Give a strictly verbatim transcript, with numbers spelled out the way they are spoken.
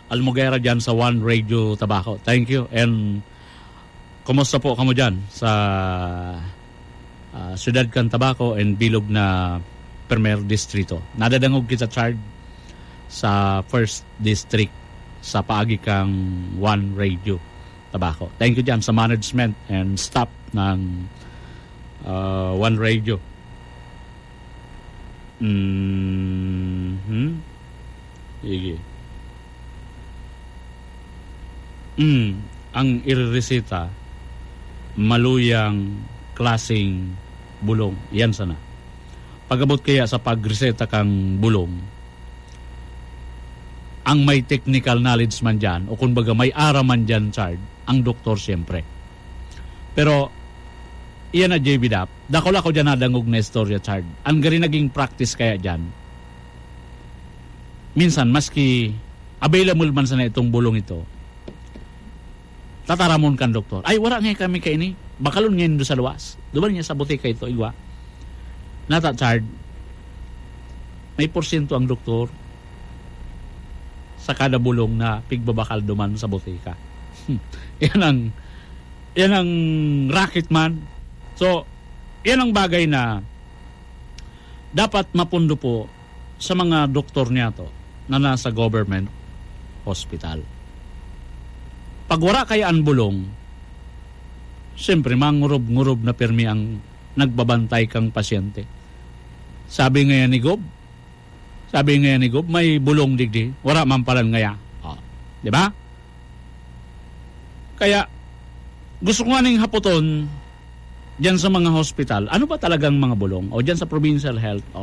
Almogera dyan sa One Radio Tabaco. Thank you. And kumusta po kamo dyan sa ah, siyudad kan Tabaco and bilog na Primer Distrito? Nadadangog kita, Chard, sa First District sa paagi kang One Radio Tabaco. Thank you dyan sa management and staff ng ah, One Radio. Mhm. Sige. Mm, ang irereseta, maluyang klaseng bulong. Yan sana. Pag-abot kaya sa pagreseta kang bulong, ang may technical knowledge man dyan, o kumbaga may aram man dyan, Chard, ang doktor siyempre. Pero, iyan na, J B Dap, dakula ko dyan nadangog na istorya, Chard. Ang gari naging practice kaya dyan, minsan, maski available man sana itong bulong ito, tataramon kan doktor, "Ay, wala nga kami kaini. Bakalon ngayon do sa luwas." Duman niya sa butika ito, igwa. Nata, Chard, may porsyento ang doktor sa kada bulong na pigbabakal duman sa butika. Yan ang, yan ang racket man. So, yan ang bagay na dapat mapundo po sa mga doktor niya to na nasa government hospital. Pag wala kaya ang bulong, siyempre, mangurob-ngurob na pirmi ang nagbabantay kang pasyente. Sabi ngayon ni Gob, sabi ngayon ni Gob, may bulong digdi, wala man palan ngaya. Oh, di ba? Kaya, gusto ko nga ning hapoton, dyan sa mga hospital, ano ba talagang mga bulong? O dyan sa provincial health, o